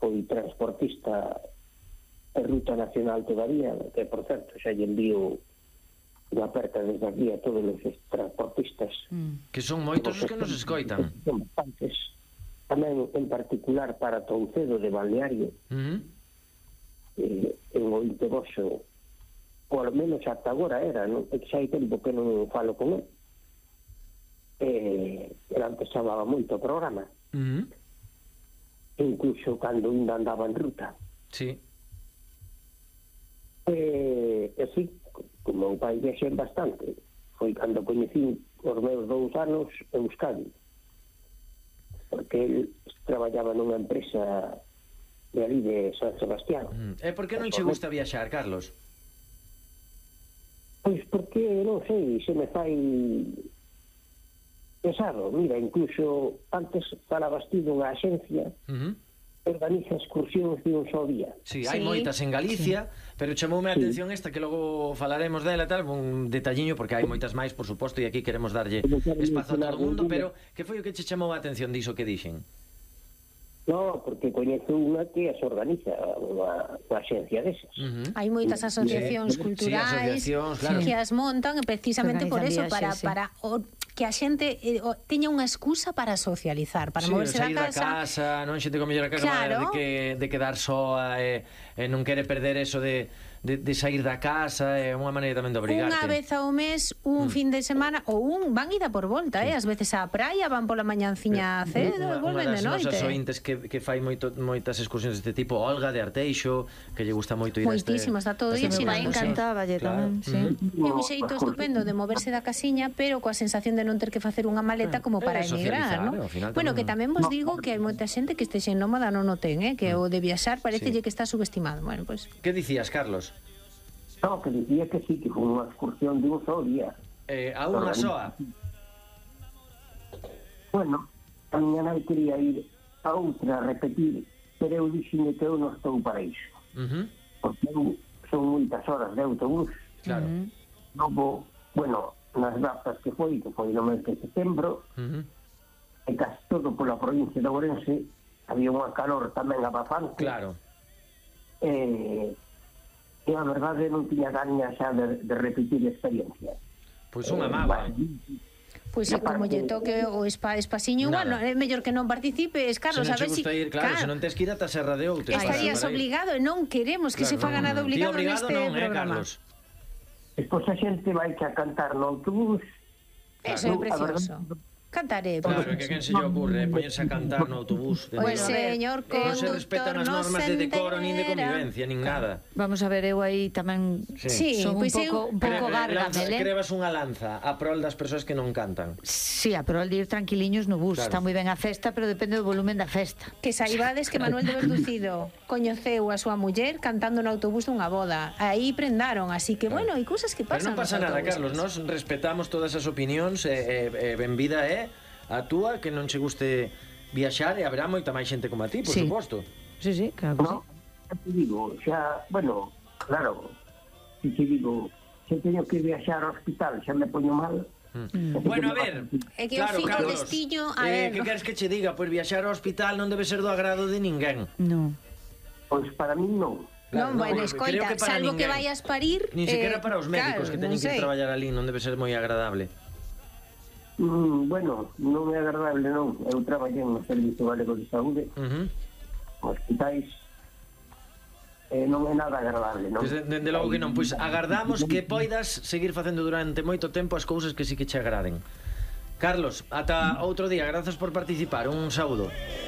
foi transportista de Ruta Nacional todavía, que, por certo, xa lle envío unha aperta desde aquí a todos os transportistas. Que son moitos os que nos escoitan. Son bastantes. Tamén, en particular, para Toucedo de Balneario, en o Inteboso, ou ao menos ata agora era, non? É que xa hai tempo que non falo con ele. Ele antes chamaba moito o programa. Incluso cando ainda andaba en ruta. Sí. Sí, como o pai viaxen bastante, foi cando coñecí os meus 2 anos en Euskadi, porque ele traballaba nunha empresa de ali de San Sebastián. E por que non che gusta viaxar, Carlos? Pois porque, non sei, se me fai pesado. Mira, incluso antes falabas ti dunha axencia organiza excursións de un só día. Sí, hai moitas en Galicia, pero chamoume a atención esta, que logo falaremos dela, tal, un detalliño, porque hai moitas máis, por suposto, e aquí queremos darlle espazo a todo o mundo, pero que foi o que che chamou a atención diso que dixen? No, porque coñezo unha que as organiza, unha axencia desas. Hai moitas asociacións culturais que as montan precisamente por eso, para que a xente teña unha excusa para socializar, para moverse da casa. Non xente con mellor a casa de quedar soa e non quere perder eso de sair da casa, é unha maneira tamén de obrigarte. Unha vez ao mes, un fin de semana, ou van ida por volta, ás veces á praia, van pola mañanciña cedo e volven de noite. Unha das nosas ointes que fai moitas excursións deste tipo, Olga de Arteixo, que lle gusta moito ir a este... Moitísimo, está todo día xirando. Encantáballe tamén, sí. É un xeito estupendo de moverse da casiña, pero coa sensación de non ter que facer unha maleta como para emigrar, non? Bueno, que tamén vos digo que hai moita xente que este xenómada non o ten, que o de viaxar parecelle que está subestimado. Bueno, pois... Que dicías, Carlos? No, que dicía que sí, que foi unha excursión de un só día. A unha soa? Bueno, a miña nai quería ir a outra a repetir, pero eu dixime que eu non estou para iso. Porque son moitas horas de autobús. Claro. Logo, bueno, nas datas que foi no mes de setembro, e casi todo pola provincia de Ourense, había unha calor tamén abafante. Claro. E a verdade non tiña gaña xa de repetir a experiencia. Pois unha mágoa. Pois como lle toque o espaciño, bueno, é mellor que non participes, Carlos, a ver si... Claro, se non tes que ir ata Serra de Outa. Estarías obligado e non queremos que se faga nada obligado neste programa. Despois a xente vai a cantar no autobús. Eso é precioso. Cantaré. Claro, que quen se lle ocurre poñerse a cantar no autobús. Pois, señor conductor, non se respetan as normas de decoro, nin de convivencia, nin nada. Vamos a ver, eu aí tamén son un pouco gárgamel, Crevas unha lanza a prol das persoas que non cantan. Sí, a prol de ir tranquiliños no bus. Está moi ben a festa, pero depende do volumen da festa. Que saibades que Manuel de Verducido coñeceu a súa muller cantando no autobús dunha boda. Aí prendaron, así que, bueno, hai cousas que pasan. Pero non pasa nada, Carlos, nós respetamos todas as opinións e ben vida a túa, que non che guste viaxar, e haberá moita máis xente como a ti, por suposto. Sí, claro que sí. Xa te digo, bueno, claro, si te digo, se teño que viaxar ao hospital, xa me poño mal. Bueno, a ver, é que claro, o destiño, a ver, que queres que che diga? Pois viaxar ao hospital non debe ser do agrado de ninguén. Non. Pois para mí non. Non, bueno, escoita, salvo que vayas parir... Nin sequera para os médicos que teñen que traballar ali, non debe ser moi agradable. Bueno, non é agradable, non. Eu traballei no Servicio Galego de Saúde, hospitais, non é nada agradable, non? Dende logo que non, pois agardamos que poidas seguir facendo durante moito tempo as cousas que sí que che agraden. Carlos, ata outro día, grazas por participar, un saúdo.